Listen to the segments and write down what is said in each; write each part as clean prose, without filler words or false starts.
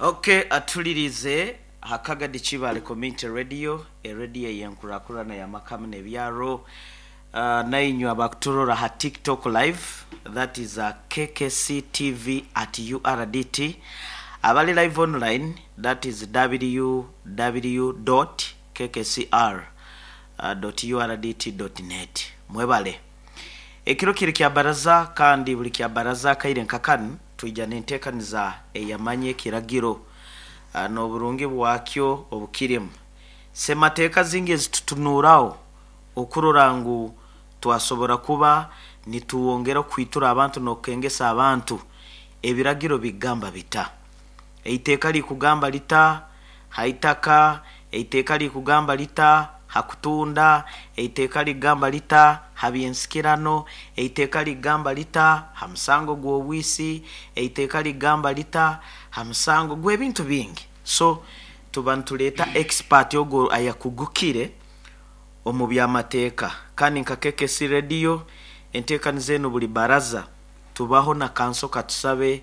Okay, atulirize Hakagadi Kibale Community Radio, erediyo ey'enkurakurana y'amakamu n'ebyaro. Nainywe abakuturora ha TikTok live, that is KKC TV at URDT. Abali live online, that is www dot kkcr dot urdt dot net. Mwebale. Ekiro kiri kya baraza kandi buli kya baraza akaire nka kanu twija n'entekaniza eyamanya ekiragiro n'oburungi bwakyo obukirimu. Semateeka zingi ezitutunuuraho okurora ngu twasobora kuba nituwongera okwitura abantu n'okukengesa abantu, ebiragiro bigamba bita? Eiteeka likugamba lita ha itaka? Eiteeka likugamba lita ha kutunda? Eiteeka ligamba lita ha by'ensikirano? Eiteeka ligamba lita ha musango gw'obwisi? Eiteeka ligamba lita ha musango gw'ebintu bingi? So tuba nituleeta expert ogu ayakugukire omu by'amateeka. Kandi nka KKC Radio, enteekaniza enu buli baraza tubaho na Kanso Katusabe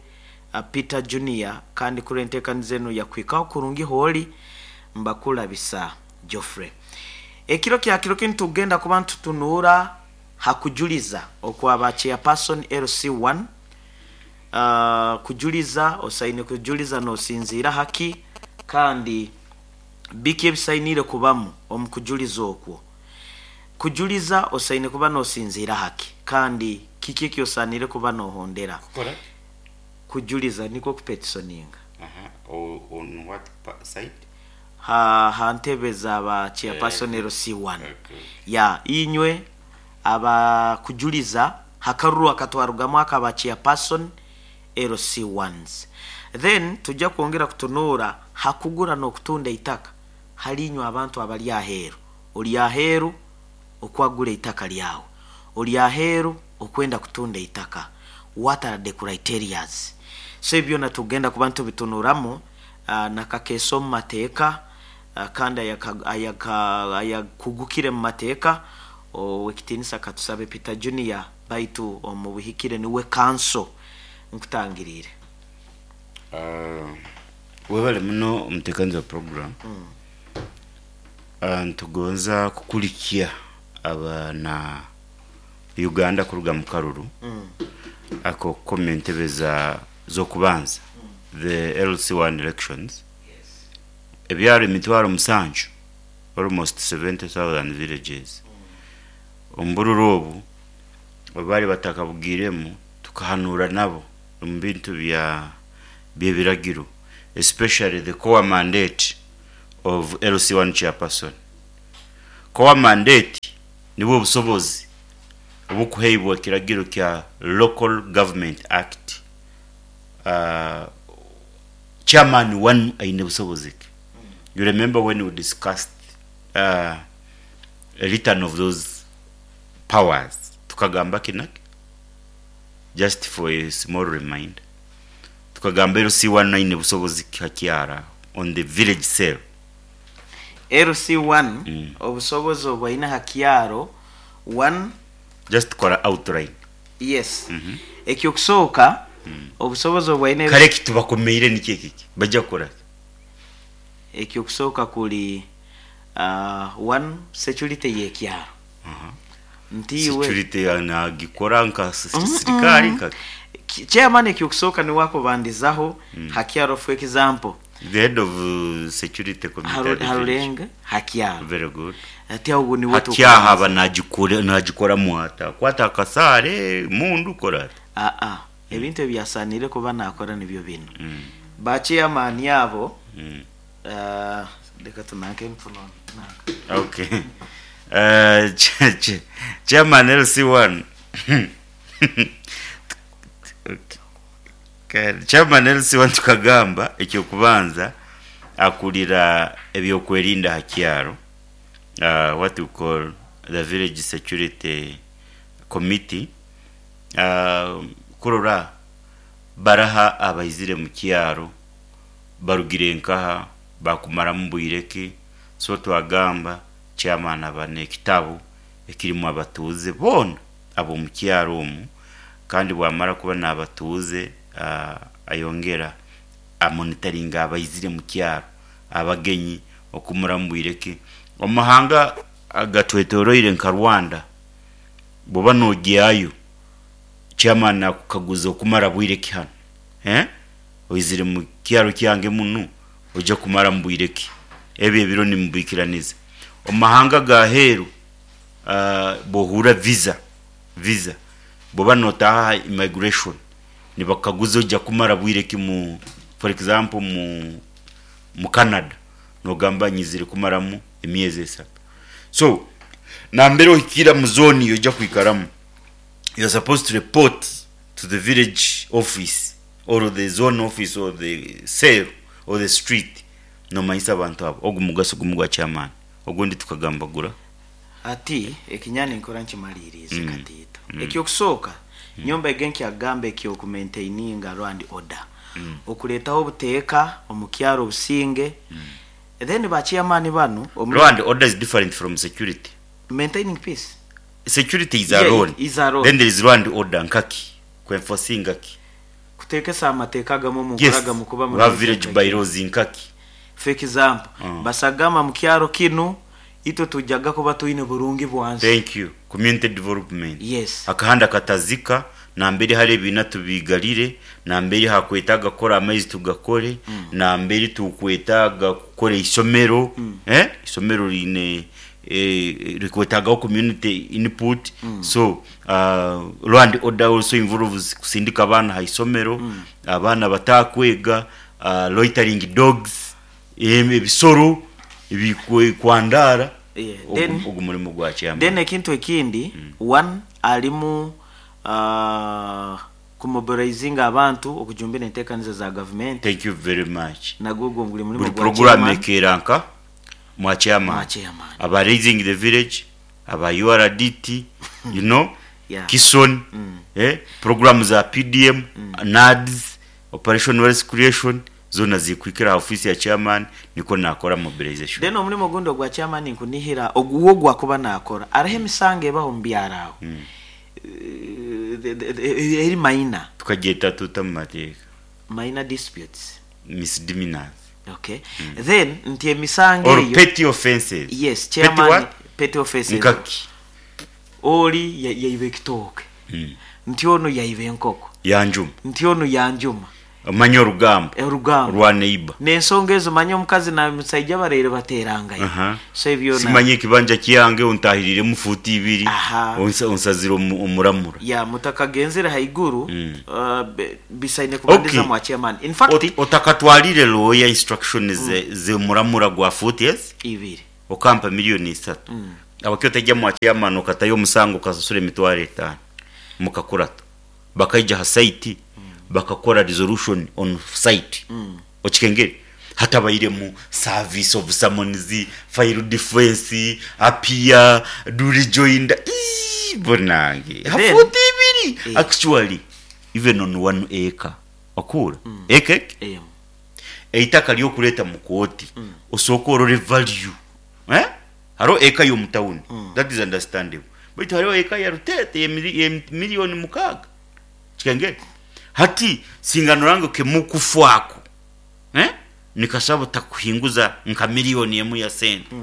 Peter Junior kandi kuri enteekaniza enu yakuhikaho kurungi hooli, Mbakulabisa Geoffrey. Ekiro kya kiro kinu tugenda kuba nitutunuura ha kujuliza okwa ba Chairperson LC1. Kujuliza, osaine kujuliza nosinziira haki kandi biki ebisainiire kubamu omu kujuliza okwo? Kujuliza osaine kuba nosinziira haki kandi kiki eki osaaniire kuba nohondera? Kukora ki? Kujuliza nikwo kupetisoninga. Aha, on what side? Ha ntebe za ba chairperson LC1. Okay. Ya, inywe aba kujuliza ha karuru akatwarugamu aka ba chairperson LC1s. Then tujja kwongera kutunuura ha kugura n'okutunda eitaka hali inywe abantu abali aheeru. Oli aheeru okwagura eitaka lyawe, oli aheeru okwenda kutunda eitaka, what are the criterias? So ebyo byona tugenda kuba nitubitunuramu nakakeesa omu mateeka kandi ayakugukire mu mateeka Owekitiinisa Katusabe Peter Junior baitu omu buhikire niwe kanso nkutangiriire. Webale muno omutekaniza wa program. Nitugonza kukulikya abana Uganda kuruga mu karuru ak'okukoma entebe za z'okubanza, the LC1 elections. Ebyaro emitwaro musanju, almost 70,000 villages, omu bururu obu obu baali batakabugiiremu tukahanuura nabo omu bintu bya by'ebiragiro especially the core mandate of LC1 chairperson. Core mandate nibwo obusobozi obukuheibwa ekiragiro kya Local Government Act. Chairman wanu aine busobozi ki? You remember when we discussed a return of those powers tukagamba ki naki? Just for a small reminder. Tukagamba LC1 aine busobozi ki ha kyaro aho on the village cell? LC1 obusobozi obu aine ha kyaro, one. Just kora outline. Yes. Eky'okusooka, obusobozi obu aine. Kare eki tubakomeire nikyo eki, baija kukora ki? Eky'okusooka kuri one, security y'ekyaro. Nti iwe. Security nagikora nka sirikari nka ki? Chairman eky'okusooka niwe akubandizaho ha kyaro for example. The head of security committee at the village. Harurenge ha kyaro. Very good. Ati aho niwe Hati tukubandiza. aba nagikoramu ata? Akwata akasaare, mundu, kora ata? Aa, ebintu ebi asaaniire kuba naakora nibyo binu. Ba chairman abo, leka tunanke nfuno nanka. Okay. Chairman LC1 Chairman LC1 tukagamba eky'okubanza akurira eby'okwerinda aha kyaro, what we call the village security committee, kurora baraha abaizire mu kyaro, barugire nkaha, bakumaramu bwire ki, so twagamba chairman aba n'ekitabu ekirimu abatuuze boona ab'omu kyaro omu kandi bwamara kuba n'abatuuze ayongera Amonitoringa abaizire mu kyaro, abagenyi okumuramu bwire ki. Omu mahanga agatwetoroire nka Rwanda, bwoba nogyayo, chairman akukaguza okumara bwire ki hanu? Eh? Oizire mu kyaro kyange munu, oija kumaramu bwire ki? Ebyo ebiro nimubikiraniza. Omu mahanga ag'aheeru, bwohuura visa, visa, bwoba notaaha ha immigration, nibakukaguza oija kumara bwire ki mu, for example mu mu Canada, nogamba nyizire kumaramu emyezi esatu. So, nambere ohikira mu zone yoija kwikaramu, you are supposed to report to the village office or the zone office or the cell or the street, nomanyisa abantu abo. Ogu mugaso gumu gwa chairman, ogundi tukagambagura. Hati ekinyani nkora nkimaliiriize katiito. Eky'okusooka, nyowe mbaige nkyagamba eky'oku maintaininga law and order, okuleetaho obuteeka omu kyaro obusinge, then ba chairman banu omu. Law and order is different from security. Maintaining peace. Security is Yeah, alone, it is alone. then there is law and order nkaki? Ku enforcinga ki? Kuteekesa amateeka agamu omu nkora Yes, agamu kuba we have muri village bylaws nkaki? For example, basagama mu kyaro kinu itwe tujaga kuba twine burungi bwansi. Thank you. Community development. Yes. Akahanda katazika, nambere hali ebiina tubiigalire, nambere hakwetaaga kukora amaizi tugakore, nambere tukwetaaga kukora isomero, eh, isomero riine rikwetaagaho community input, so law and order also involves kusindika abaana ha isomero, abaana batakwega, loitering dogs, ebisoro ebikwandaara, Yeah, then ogu murimo gwa chairman. Then ekintu ekindi, one alimu kumobilizinga abantu okujumbira enteekaniza za gavumenti. Thank you very much. Nagwo ogwo guri murimo Buri gwa program chairman. ekeera nka mwa chairman. Mwa chairman. Aba Raising the Village, aba URDT, you know, Yeah. Kison, program za PDM, NAADS, Operation Wealth Creation, zoona zikwikira aha ofiisi ya chairman nikwo naakora mobilization. Then omurimo ogundi ogwa chairman nkunihira ogu wo ogwakuba naakora, hariho emisango ebaho omu byaro aho eri minor. Tukagyeta tuta omu mateeka? Minor disputes. Misdemeanors. Okay. Then nti emisango Or eyo. petty offences. Yes, Petty chairman, what? Petty offences. Nkaki? Ori yaiba ekitooke. Nti onu yaiba enkoko. Yanjuma. Nti onu yanjuma. Omanye orugambo. Orugambo. Rwa neighbor. N'ensonga ezo manya omukazi na musaija baraire bateerangaine. So ebyo na. Simanya ekibanja kyange ontaahiriremu fuuti ibiri, Aha. onsazire omuramura. Yeah, mutakagenzire haiguru, bisaine kubandiza mwa chairman. In fact. Otakatwarire lawyer instruction z'omuramura gwa fuuti ezi? Ibiri. Okampa milioni isatu. Habwaki otaija mwa chairman okatayo omusango okasasura emitwaro etaano mukakurato? Bakaija ha site bakakora resolution on site. Okikengere? Hatabairemu service of summons, file defence, appear, do rejoinder. Ii banange! Ha Then fuuti ibiri! Actually even on one acre. Okuhurra? Acre eki? Emu. Eitaka ry'okureeta mu kooti, osooke orore value. Eh? Hariho eka y'omu tawuni, that is understandable. Baitu hariho eka ya Ruteete y'emiliyoni 6. Kikengere? Hati singa norora ngu kemukufu ako, eh? Nikasobola butakuhinguza nka miliyoni 1 ya sente.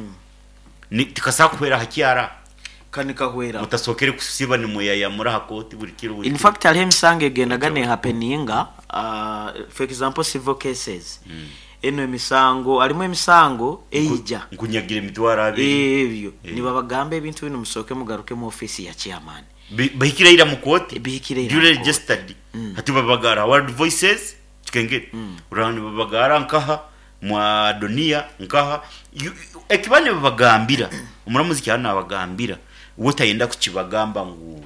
Tikasobola kuhwera ha kyaro aho. Ka nikahweraho. Mutasookere kusiiba nimweyayamura aha kooti buri kiro buri In kiro. fact hariho emisango egendaga nehapeninga, for example civil cases. Enu emisango, harimu emisango eija. Nkunyagira emitwaro abiri. Ebyo. Nibabagamba ebintu binu musooke mugaruke mu ofiisi ya chairman. Bahikire ira mu kooti. Bihikire ira Duly mu kooti. registered. Hati babagara World Voices, kikengere. Oraba nibabagara nkaha, mwa Adonia nkaha. Ekiba nibabagambira, omuramuzi kyaba nabagambira, we tayenda kukibagamba ngu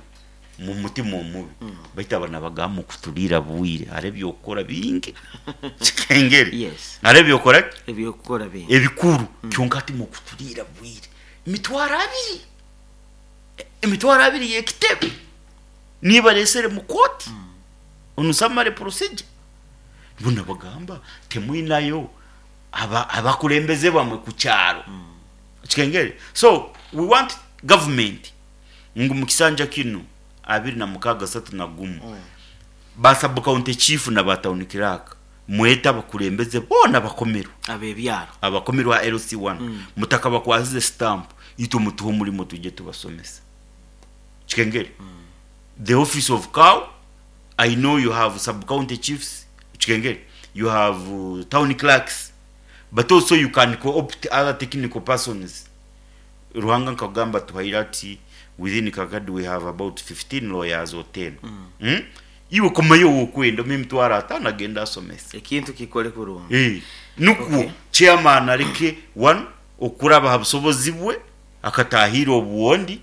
mu mutima omubi. Baitu aba nabagamba mukuturiira bwire, hariho eby'okukora bingi. Kikengere. Yes. Hariho eby'okukora ki? Eby'okukora bingi. Ebikuru. Kyonka hati mukuturiira bwire. Emitwaro abiri. Emitwaro abiri y'ekitebe. Niba areesere mu kooti. On summary procedure. Bona bagamba temwinayo abakulembeze bamwe ku kyaro. Kikengere. So we want government ngu mu kisanja kinu 2061 ba sub county chief na ba town clerk. Mwete abakulembeze boona bakomerwe. Abebyaro. Abakomerwa LC1 mutakabakwasize stamp, itwe mutuhe omulimo tujye tubasomesa. Kikengere, the office of CAO, I know you have sub county chiefs. Kikengere, you have town clerks, but also you can co-opt other technical persons. Ruhanga nkagamba tuhaire ati within Kagadi we have about 15 lawyers or 10. Iwe komayo wokwenda emitwaro 5 agenda asomesa. Ekintu kikole kurungi. Nukwo chairman areke one okuraba ha busobozi bwe akatahira obuwondi,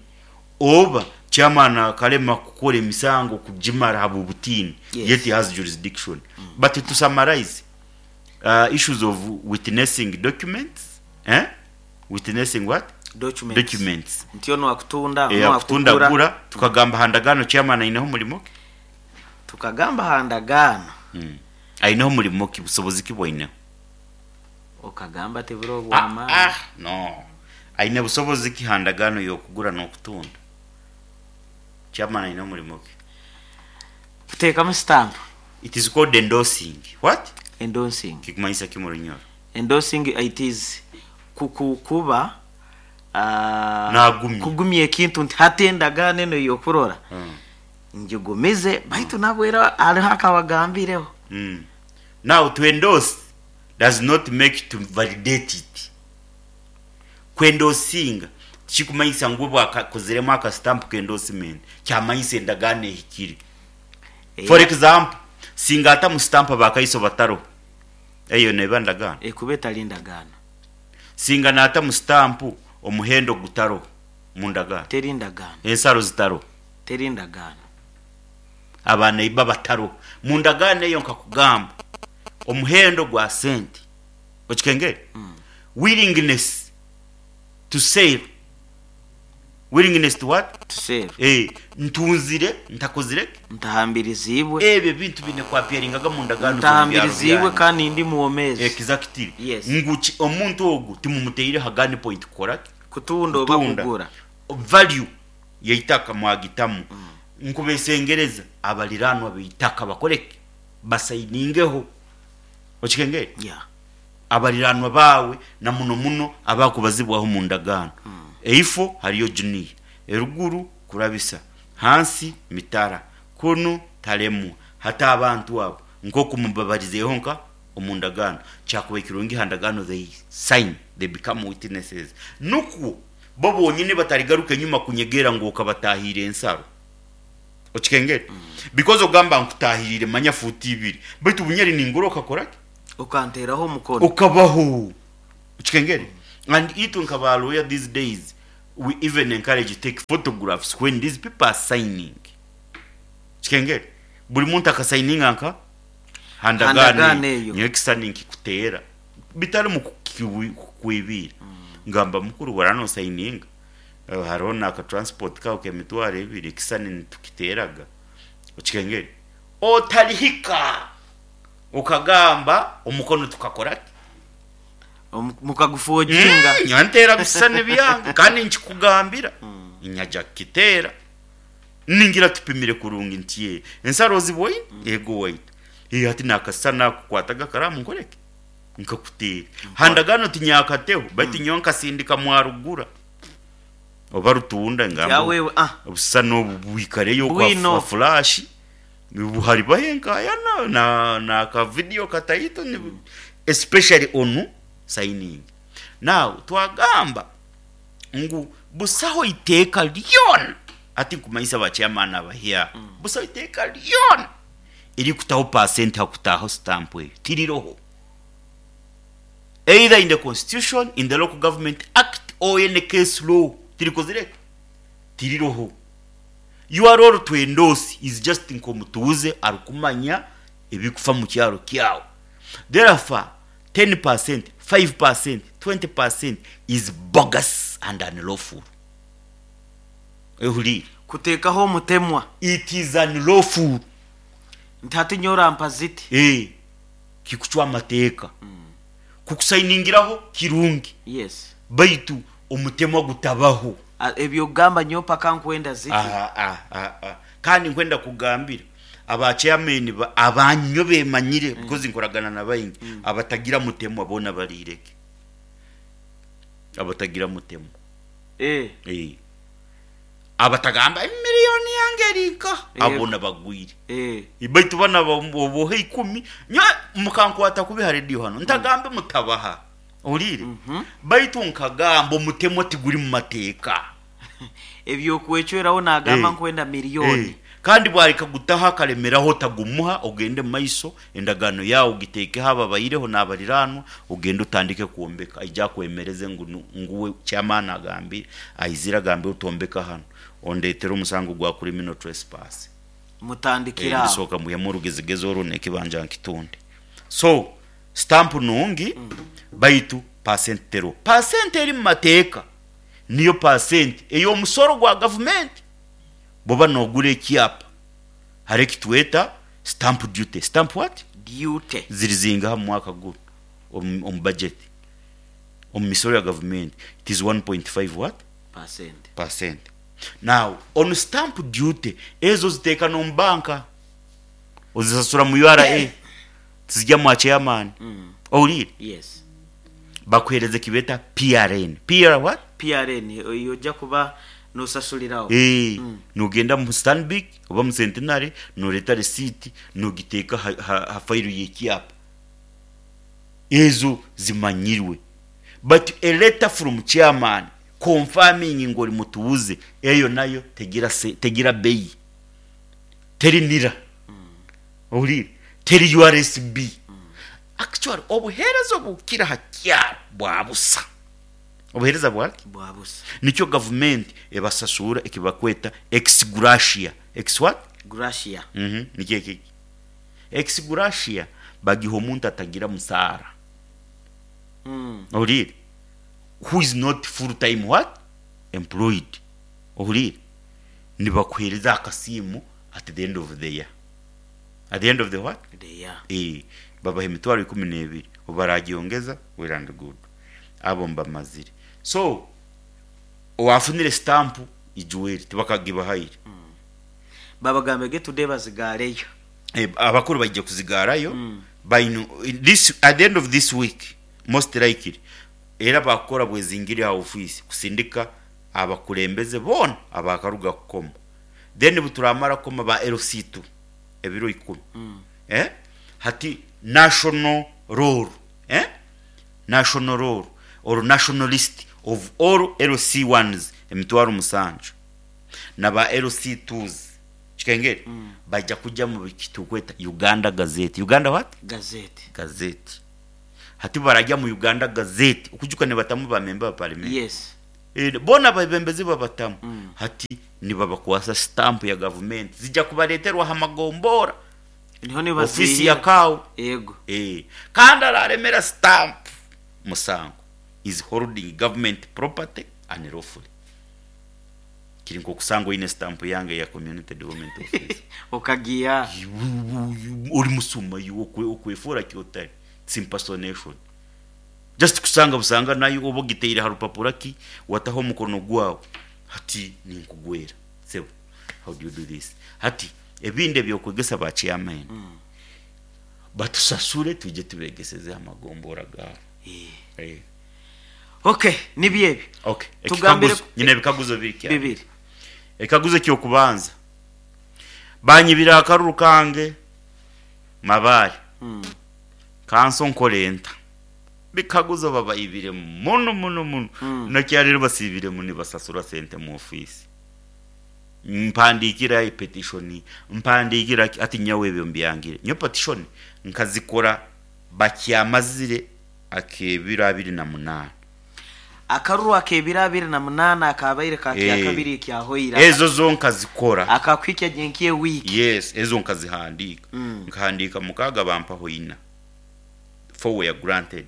oba chairman akalema kukora emisango kugimara habw'obutiini. Yet he has jurisdiction. But to summarize, issues of witnessing documents, eh? Witnessing what? Documents. Documents. Nti ono akutunda, ono akutunda akugura. Gura, tukagamba handagano chairman aineho omulimo ki? Tukagamba handagano. Aineho omulimo ki, busobozi ki bwaineho? Okagamba tiburi obw'amaani. No, aine busobozi ki handagano y'okugura n'okutunda? Chairman aine omulimo ki? Kuteekamu stamp. It is called endorsing. What? Endorsing. Kikumanyisa ki mu Runyoro? Endorsing, it is kuba Nagumya. Kugumya ekintu nti hati endagaano eno y'okurora ngigumize, baitu nabwera hariho akabagambireho. Now, to endorse does not make to validate it. Kwendorsinga kikumanyisa ngu bwakakozeremu akastamp k'endorsement, kyamanyisa endagaano ehikire. For example, singa ata mu stamp abakaiso bataro, eyo neba ndagaano? Ekuba etali ndagaano. Singa naata mu stamp omuhendo gutaro mu ndagaano? Teri ndagaano. Ensaro zitaro? Teri ndagaano. Abaana iba bataro mu ndagaano eyo. Nkakugamba omuhendo gwa sente, okikengere, willingness to save, willingness to what? To save. Ntunzire ntakozire. Ntahambiriziibwe. Ebyo bintu bine kwapyaringaga mu ndagaano z'omu byaro Ntahambiriziibwe byanyu. Kandi ndi muwomeezi. Exactly. Yes. Ngu omuntu ogu timumuteire ha gun point kukora ki? Kutunda oba Kutunda. kugura. Value yeitaka mwagitamu. Nkubesengereza abaliranwa beitaka bakoreke, basayiningeho. Okikengere? Yeah. Abaliranwa bawe na muno muno abakubazibwaho mu ndagaano. Eifo hariyo juniya, eruguru kurabisa, hansi mitara, kunu talemwa, hata abantu abo nkoku mubabarizeho nka omu ndagaano, kyakuba kirungi ha ndagaano they sign, they become witnesses, nukwo bo bonyine batarigaruka enyuma kunyegera ngu okabatahire ensaro. Okikengere? Because ogamba nkutahirire manya futi 2, baitu bunyeri ningura okakoraki? Ukanteraho omukono. Ukabaho. Okikengere? And itwe nka lawyer these days we even encourage take photographs when these people are signing. Kikengere, buli muntu akasayininga nka handagaane handagaane eyo. Nyowe ekisani nkikuteera bitari mu kukwibira, ngamba mukuru warano sayininga. Hariho naka transport kawe k'emitwaro 2, ekisani nitukiteeraga. Okikengere, otalihika ukagamba omukono tukakora ki? Mukagufojinga. Nyantera bisani byange kandi nkikugambira nyaja kukiteera, ningira tupimire kurungi nti ye ensaro ozibwoine ego waitu. Ati nakasana kukwataga karamu nkoreke nkakuteera handagano tinyakateho, baitu nyowe nkasindika mwarugura oba rutunda ngamba Yawewe ah. Obusana obu bwikareyo Bwino. kwa flash buhari bahenkayana na ka video kataito especially onu signing. Now twagamba ngu busaho iteeka lyona, ati nkumanyisa ba chairman abahya, busaho iteeka lyona erikutaho percent hakutaho stamp eyo, tiriroho either in the constitution, in the Local Government Act or any case law. Tirikozire, tiriroho. Your role to endorse is just nk'omutuuze arikumanya ebikufa mu kyaro kyawe. Therefore 10%, 5%, 20% is bogus and unlawful. Ehulire. Kuteekaho omutemwa. It is unlawful. Nti hati nyorampa ziti. Kikucwa amateeka. Kukusayiningiraho kirungi, baitu omutemwa gutabaho. Ebyokugamba nyowe paka nkwenda ziti. Ah, ah, ah, ah. Kandi nkwenda kugambira Aba chairman abanyo bemanyire because nkoragana na baingi abatagira mutemwa boona bariirege. Abatagira mutemwa. Eh. Abatagamba emiliyoni yange eri nkaha, abo bagwire. Baitu banu oboha ikumi, nyowe mukankwata kubi ha rediyo hanu, ntagambe mutabaha. Ohuriire? Baitu nkagamba omutemwa tiguri mu mateeka. Eby'okwecweraho naagamba nkwenda miliyoni. Kandi bwarikagutaho akaremeraho otagumuha, ogende mu maiso, endagaano yaawe ogiteekeho ababaireho n'abariraanwa, ogende otandike kwombeka. Aije akwemereze ngu ngu we chairman agambire, aizire agambire otombeka hanu, ondeetere omusango gwa criminal trespass. Mutandikire aho. Ndisooka mbwihemu orugezigezi orwo n'ekibanja nkitunde. So, stamp nungi baitu percent teriho. Percent eri mu mateeka niyo percent ey'omusoro gwa gavumenti. Bwoba nogura ekyapa hariho ekitweta stamp duty, stamp what? Duty. Ziri zingaha mu mwaka gunu omu budget, omu misoro ya gavumenti? It is 1.5 what? Percent. Percent. Now on stamp duty ezo oziteeka n'omu banka, ozisasura mu URA, tizigya mwa chairman. Ohuriire? Yes. Bakuheereza ekibeeta PRN. PR what? PRN eyo oja kuba nosasuliraho. Eeh, nogenda mu Stanbic oba mu Centenary noreeta risiiti nogiteeka ha fayiro y'ekyapa. Ezo zimanyirwe. But a letter from chairman confirming ngu ori mutuuze, eyo nayo tegira tegira beyi. Teri nira. Ohuriire? Teri URSB. Actually obuheereza obukukira ha kyaro bwa busa. Obuheereza bwaki? Bwa busa. Nikyo gavumenti ebasasuura ekibakweta ex gratia. Ex what? Gratia. Nikyo eki. Ex gratia bagiha omuntu atagira musaara. Ohuriire? Who is not full time what? Employed. Ohuriire? Nibakuheereza akasiimo at the end of the year. At the end of the what? The year. Eeh, babaha emitwaro ikumi n'ebiri. Obu baragyongeza, well and good. Abo mbamazire. So, owafunire stamp ijuweri tibakagibahaire. Babagambe ge today bazigareyo. Abakuru baije kuzigarayo baine this at the end of this week most likely era bakukora bwezingiri aha ofiisi kusindika abakulembeze boona abakaruga kukoma then buturamara kukoma ba LC2 ebiro ikumi eh hati national roll eh national roll or national list of all LC1s emitwaro musanju na ba LC2s kikengeri baija kuja mu kitukweta Uganda Gazette. Uganda what? Gazette. Gazette. Hati barajya mu Uganda Gazette okujuka nibatamu ba member ba parliament. Yes. Boona abebembezi babatamu. Hati nibabakwasa stamp ya gavumenti zija kubareterwa aha magombora. Niho Ofiisi nibaziihira. ya Kaawo. Yego. Kandi araremera stamp musango is holding government property unlawfully. Kiri nk'okusanga oine stamp yange eya community development office. Okagiiha. Ori musuma iwe okwefoora ki otari. It's impersonation. Just kusanga busanga nayo oba ogiteire aha rupapura ki wataho omukono gwawe hati ninkugwera sebo how do you do this? Hati ebindi eby'okwegesa ba chairman batusasure twije tubegeseze aha magombora gaabo. Okay, nibyo ebyo. Okay, Tugambire ekikaguzo, nyine ebikaguzo biri kyabiri. Bibiri. Ekikaguzo eky'okubanza, banyibire akaruru kange Mabaare, kanso nkore nta? Bikaguzo babaibire muno muno muno, nakyarero basiibiremu nibasasura sente mu ofiisi. Mpandiikira epetishoni, mpandiikira ki, hati nyowe ebyo mbyangire. Nyowe petishoni nkazikora bakyamazire ak'ebiro abiri na munaana. Akaruru ak'ebiro abiri na munaana akaabaire ka kyakabiri ekyahoire. Ezo zo nkazikora. Akakuhikya gye nk'ewiiki. Yes, ezo nkazihandiika. Nkahandiika mukaaga bampaho ina. Four were granted.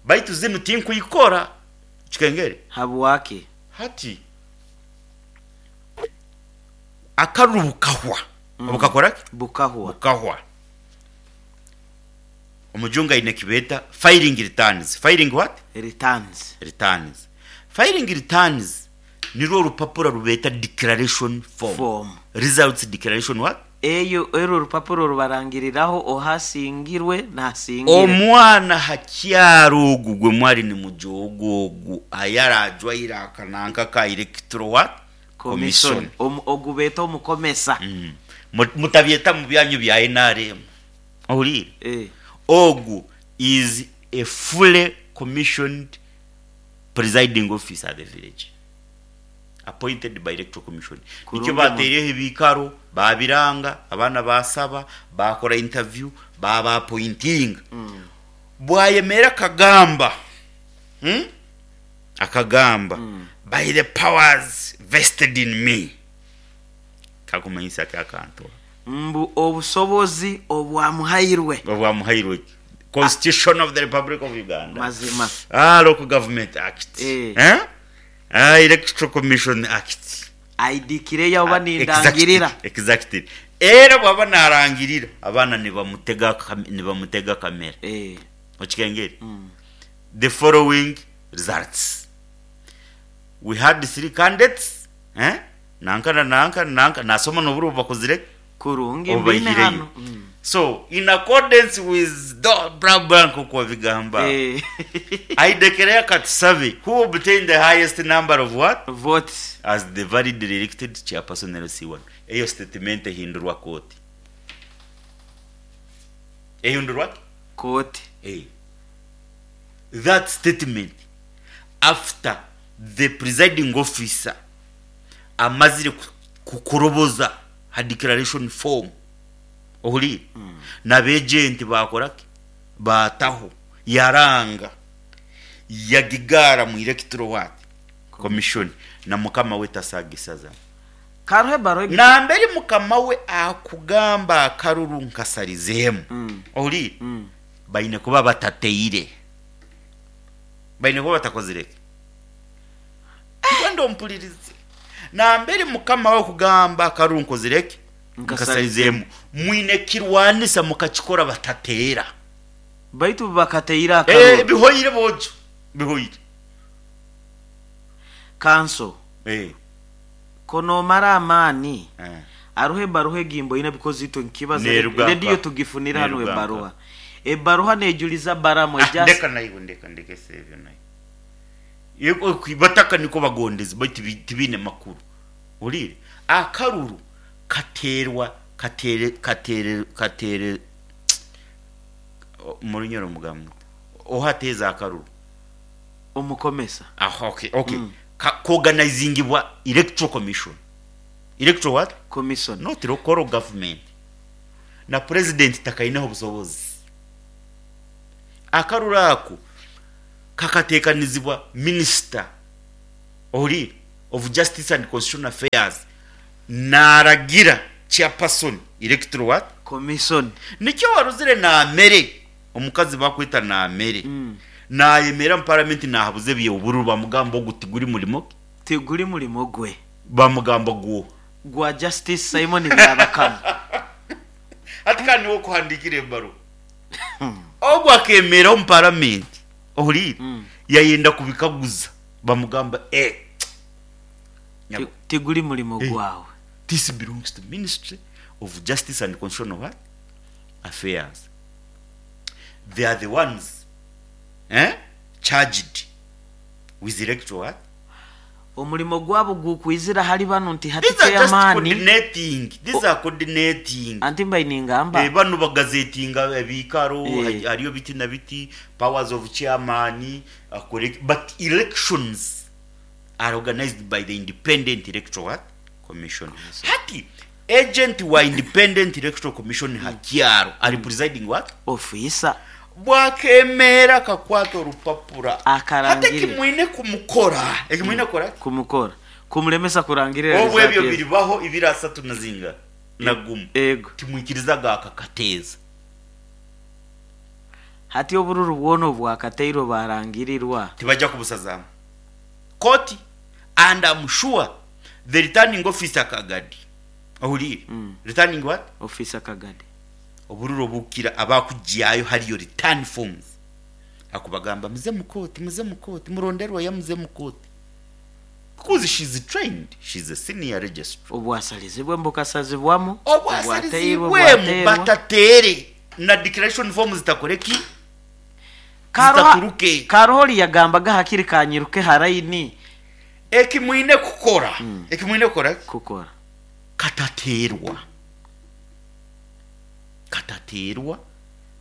Baitu zinu tinkwikora. Kikengere? Habwaki? Hati akaruru bukahwa. Bukakora ki? Bukahwa. Bukahwa. Omujungu aine eki beeta filing returns. Filing what? Returns. Returns. Filing returns nirwo orupapura rubeeta declaration form. Form. Results declaration what? Eyo era orupapuro rubarangiriraho ohasingirwe nasingire. Omwana hakyaro ogu gwe mwali nimujoga ogu ayarajwaire akananka ka electoral what? Commission. Ogu beeta omukomesa. Mutabyeta mu byanyu bya NRM. Ohuliire? Ogu is a fully commissioned presiding officer at the village appointed by Electoral Commission. Nikyo Kurungi bateireho ebiikaro, babiranga, abaana basaba, bakora interview, baba appointinga. Bwayemera akagamba, Akagamba, by the powers vested in me. Kakumanyisa ki akantu ako? Mbu obusobozi obwamuhairwe. Obwamuhairwe ki? Constitution of the Republic of Uganda. Mazima. Local Government Act. Eh. Electoral Commission Act. Aidikireyo oba nindangirira. Exactly. Era bwaba narangirira, abaana nibamutega kamera. Okikengeri? The following results. We had three candidates, eh? Nanka na nanka na nanka, nasoma n'oburo obu bakozire ki? Kurungi Obu mbiine baihireyo. hanu. So, in accordance with the blah blah nk'oku wabigamba, aidekereyo akatusabe who obtained the highest number of what? Votes. As the validly elected chairperson LC1. Eyo statement ehindurwa kooti. Ehindurwa ki? Kooti. That statement after the presiding officer amazire kukuroboza ha declaration form, ohuliire, n'abegenti bakora ki? Baataho, yaranga, yagigaara mu electoral what? Commission, na mukama we tasagisazamu. Karuho ebaruha egi. Nambere mukama we akugamba akaruru nkasarizeemu, ohuliire, baine kuba batateire, baine kuba batakozire ki? Nkwenda ompulirize. Nambere mukama we kugamba akaruru nkozire ki? Nkasarizeemu. Mwine kirwanisa mukakikora batateera. Baitu bakateire akaruru. Bihoire bojo, bihoire. Kanso. Konomara amaani. Aruho ebaruha egi mboine because itwe nkibaza Neruga rediyo nka. tugifunira hano Neruga nka. ebaruha. Ebaruha nejuliza Baramu ejasi. Ndeka naiwe, ndeka ndekese ebyo naiwe. Yego, bataka niko bagondezi baitu tibine makuru. Ohuliire? Akaruru kateerwa, katere, katere, katere, mu Runyoro mugamba muta? Ohateeza akaruru? Omukomesa. Aha, okay, okay. Koganizingibwa Electoral Commission. Electoral what? Commission. Not local government. Na president takaineho obusobozi. Akaruru ako kakateekanizibwa minister, ohuliire, of Justice and Constitutional Affairs, naragira chairperson Electoral what? Commission. Nikyo waruzire Naamere, omukazi bakweta Naamere, nayemera mu parliament nahabuza eby'obururu, bamugamba ogu tiguri murimo gwe. Tiguri murimo gwe. Bamugamba gwo. Gwa Justice Simon Byabakama. Hati kandi niwe okuhandikira ebaruha. Ogu akemera omu parliament, ohuliire, yayenda kubikaguza, bamugamba, Tiguri murimo gwawe. This belongs to Ministry of Justice and Constitutional what? Affairs. They are the ones, charged with electoral what? Omurimo gwabo gukwizira hali bano nti hati These are just chairman. coordinating. These are coordinating. Anti mbaye ningamba. Bano bagazetinga ebikaro, hariyo biti na biti, powers of chairman, correct, but elections are organized by the Independent Electoral what? Commission. Hati agent wa Independent Electoral Commission hakyaro ari presiding what? Officer. Bwakemera kakwata orupapura. Akarangirira. Hati ekimwine kumukora. Ekimwine kora? Kumukora. Kumulemesa kurangirira. Obwo ebyo result. biribaho ibiri asatu na zinga. Na gumu. Ego. Timwikirizaga akakateza. Hati obururu bwono bwakateirwe barangirirwa. Tibajja kubusazamu. Koti, and I'm sure the returning officer Kagadi. Ohuliire? Returning what? Officer Kagadi. Obururu obukira abakugyayo hariyo return forms. Akubagamba muze mukoti, muze mukoti, muronderwa ya muze mukoti. Because she's trained, she's a senior registrar. Obwasalizibwemu bukasazibwamu, obwateirwe Obwasalizibwemu bwateerwa. Batateere na declaration form zitakoreki, zitaturuke. Karohori yagambaga hakiri kanyiruke haraini. Ekimwine kukora, ekimwine kukora, kukora katateerwa, katateerwa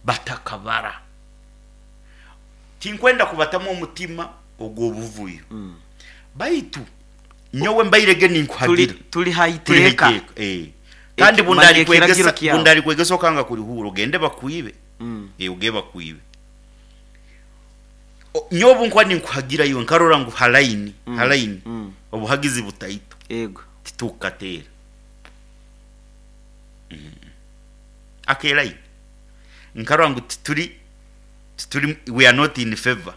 batakabara. Tinkwenda kubatamu omutima ogw'obuvuyo, baitu nyowe mbairege ninkuhagira. Tuli tuli haiteeka. Haiteeka, eh. Kandi Manya ekiragiro bundaali kyawe. bundali kwegesa okanga kulihura ogende bakwibe. Ogende bakwibe. Nyowe obu nkuba ninkuhagira iwe nkarora ngu halaini, halaini, obuhagizi butaito, ego titukateera. Akelaini nkarora ngu tituri, we are not in favor,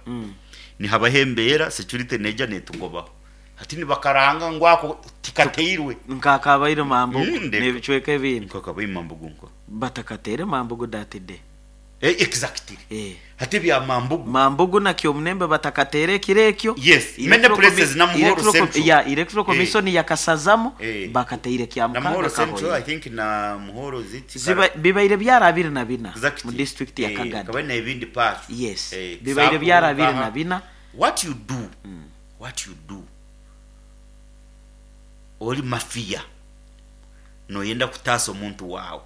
nihabaho embeera security neija netugobaho, hati nibakaranga ngu ako tikateirwe. Nkakabaire mambugu Ndeka. n'ebicweka ebindi. Nkakabaire mambugu nko batakateere mambugu datide. Eh, exactly. Hati bya mambugu. Mambugu nakyo omunembe batakateere ekiro ekyo. Yes, many places na Muhoro Central. Ya electoral commission yakasazamu, bakateire kya na Muhoro mukaga Central, I kahoire. think na Muhoro ziti Bibaire byara 24 Exactly. mu district ya Kagadi. Kabaire n'ebindi parts. Yes, bibaire byara 24. What you do, what you do, oli mafia noyenda kutaasa omuntu waawe.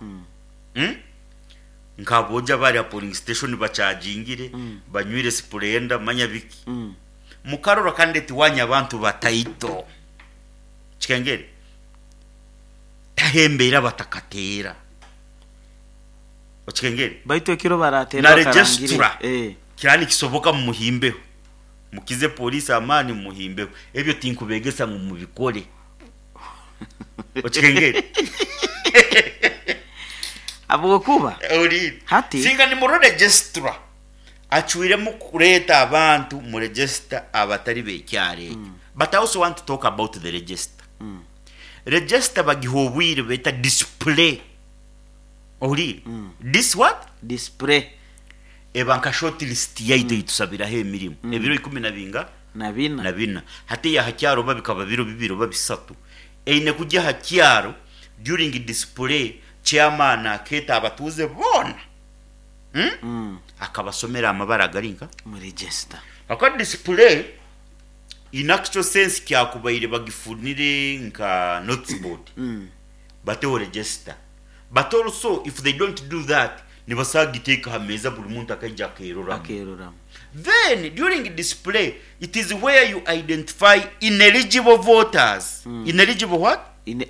Nkaboja bari polling station bachajingire, banywire Splenda, manya biki, mukarora kandi tiwanya abantu bataito kikengere tahembeera batakateera okikengere. Baitu ekiro barateera na bakarangire. Registra kirani kisoboka mumuhimbeho, mukize polisi amaani mumuhimbeho. Ebyo tinkubegesa ngu mubikore, okikengere. Habwokuba Ori Hati- singa ni mu registra acwiremu kureeta abantu mu register abatari bekyaro ekyo. But I also want to talk about the register. Register bagiha obwire beta display, ohuriire? This what? Display. Eba nka short list yaitu eitusabiraho emirimu ebiro ikumi na binga? Na bina. Na bina. Hati ya hakyaro oba bikaba biro bibiri oba bisatu, eine kujya hakyaro during display, chairman akeeta abatuuze boona, Akabasomera amabara agari nka mu register. Aka display in actual sense kyakubaire bagifunire nka notice board, bateho register. But also if they don't do that, nibasagiteeka ha meeza buli muntu akaija akeroramu. Akeroramu. Then during display, it is where you identify ineligible voters. Ineligible what?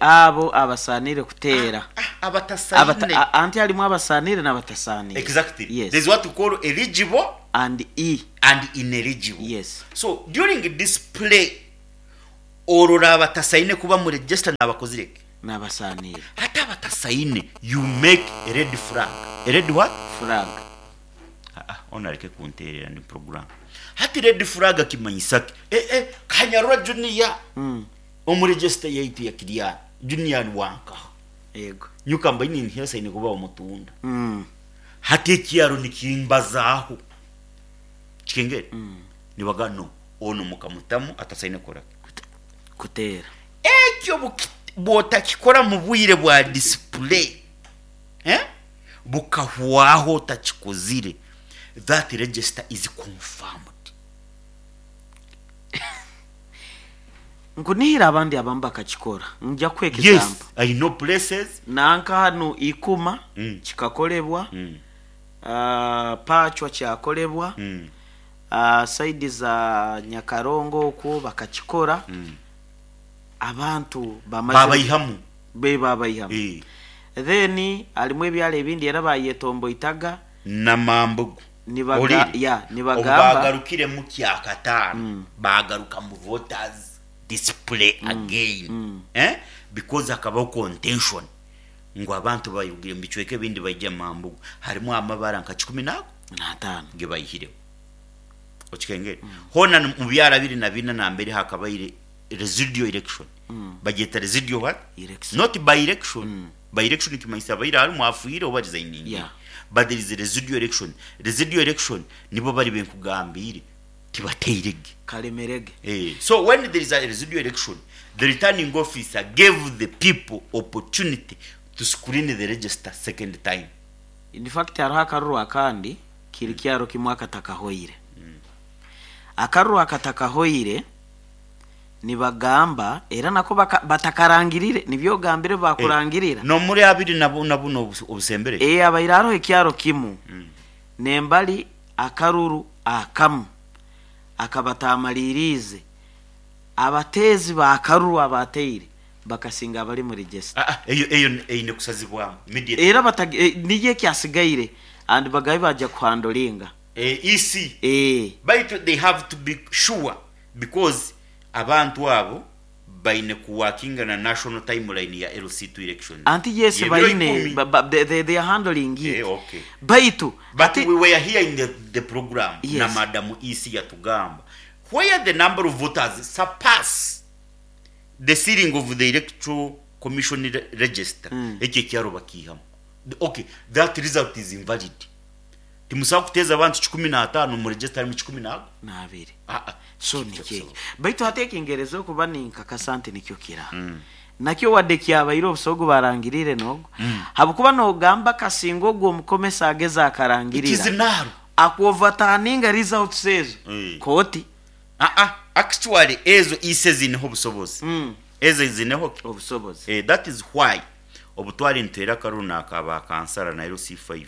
Abo abasanire kuteera. Ah, abatasaine. Anti halimu abasanire n'abatasanire. Exactly. Yes. There's what we call eligible and e and ineligible. Yes. So during display, orora abatasaine kuba mu register n'abakozireke. N'abasanire. Ate abatasaine, you make a red flag. A red what? Flag. Ah, ah, ono aleke kunteerera ndi program. Hati red flag kimanyisa ki? Kanyarura Junior. Omu register yaitu ya Kiriani. Junior ni wanka. Yego. Nyuka mbaini ntiyasaine kuba omutunda. Hati ekyaro nikimbazaaho. Kikengere. Nibaga no ono mukamutamu atasaine kora. Kuteera. Ekyo bw'otakikora mu bwire bwa display, eh? Bukahwaho otakikozire, that register is confirmed. Nkunihira abandi abamu bakakikora, nja kuha Yes, example. I know places. Nanka hanu ikuma kikakolebwa, pachwa kyakolebwa, saidi za Nyakarongo okwo bakakikora. Abantu bamaze babayihamu. Be babayihamu. Then halimu ebyalo ebindi era bayetomboitaga. Namambugu. Nibaga, Oliri? ya nibagamba. Obu bagarukire mu kyakataano, bagaruka mu voters display again, eh? Because hakabaho contention ngu abantu bayugire mu bicweka ebindi baija mambugu harimu amabara nka kikumi nago 5. Ge bayihireho, okikengere? Hona mu byaro 24 nambere hakabaire residual election. Bagyeta residual what? Election. Not by election. By election kimanyisa abaire harimu afiire oba resigning. But there is a residual election. Residual election nibo bari benkugambire. Tibateirege. Kalemerege. So when there is a residual election, the returning officer gave the people opportunity to screen the register second time. In fact, hariho akaruru akandi kiri kyaro kimwe akatakahoire, akaruru akatakahoire nibagamba era nako batakarangirire, nibyo gambire bakurangirira. No muri abiri na buno obusembere. Abaire hariho ekyaro kimu nembali akaruru akamu akabatamalirize, abateezi bakaruru abateire bakasinga abali mu register. Ah, ah, eyo eine kusazibwamu immediately. Era niyo ekyasigaire and bagabe bajja kuhandlinga. EC. Eh. But they have to be sure because abantu abo baine kuworkinga na national timeline ya LC2 elections. Anti yes. Yebiro Baine 10. They are handling it. Okay. Baitu But we were here in the program na Madam EC yatugamba where the number of voters surpass the ceiling of the Electoral Commission register, ekyo ekyaro bakihamu. Okay, that result is invalid. Timusobola kuteeza abantu 15 mu register harimu kikumi nago 2. Ah, ah. So nikyo baitu hati ekingereza okuba ninkakasa nti nikyo kira nakyo wadde kyabaire obusogo barangirire nogo, habwokuba nogamba kasinga ogwo omukomesa ageza akarangirira Ikizinaro. Akuoverturninga results ezo kooti. Ah, ah, actually ezo ise zineho obusobozi. Ezo zineho obusobozi. That is why obutwali nitera akaruru nakaba kansara na LC5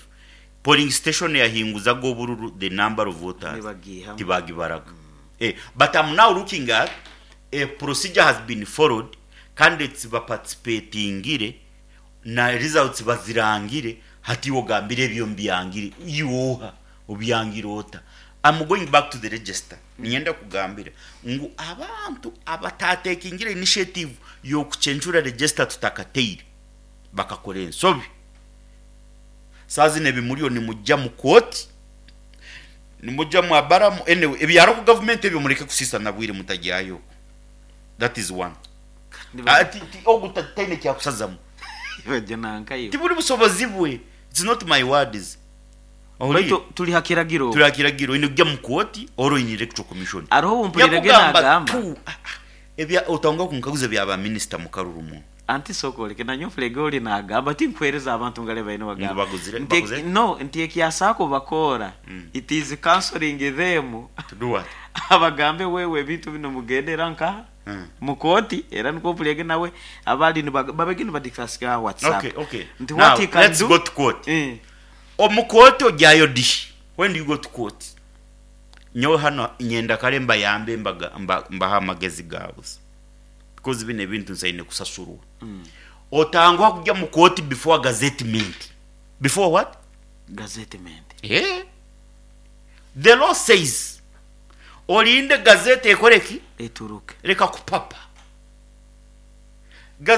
polling station yahinguzaga obururu, the number of voters Nibagihamu. tibagibaraga. But I'm now looking at a procedure has been followed, candidates baparticipatingire na results bazirangire. Hati wogambire ebyo mbyangire iwoha obyangire ota? I'm going back to the register. Ninyenda kugambira ngu abantu abatatekingire initiative yokuchenjura register tutakateire bakakora ensobi. Saa zino ebimuriyo nimujja mu kooti, nimujja mu abaramu. Anyway, ebyaro ku gavumenti ebyo mureke kusisa na bwire mutajyayo. That is one. Ah, ogu taine kyakusazamu. Bajja nankayo. Tibuli busobozi bwe. It's not my words. Baitu tuli hakiragiro. Tuli hakiragiro ine kujja mu kooti oro in Electoral Commission. Hariho obumpulirege Yakugamba nagamba tu ebya otanga kunkaguza bya ba minister mu karuru mu Anti sokoleke nanyo mpulege oli nagamba tinkuhereza abantu ngale baine bagamba Ngu baguzire? No, nti ekyasako bakora, it is counseling them. To do what? Abagambe wewe ebintu bino mugendera nka mukoti, era niko mpulege nawe abali babege nibadiscuss WhatsApp Okay. nti Now, what he can let's do. go to court. Omukooti ojyayo di? When do you go to court? Nyowe hano nyenda kale mbayambe mbaha amagezi gabusa because bino ebintu nsaine kusasurwa. Otangwa kujya mu kooti before gazettement. Before what? Gazettement. Yeah. The law says olinde gazete ekoreki eturuke. Reka kupapa. Gazette.